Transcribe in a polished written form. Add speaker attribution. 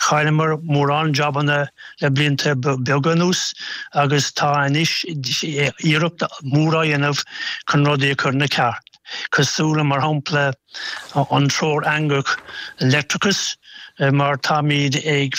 Speaker 1: Chailleamar mórán jabanna le blianta beaga anuas agus tá anois iarracht mhór á dhéanamh chun rudaí a chur ina ceart, cosúil le mar shampla an Treoir Eangach Leictreachais mar táimid ag.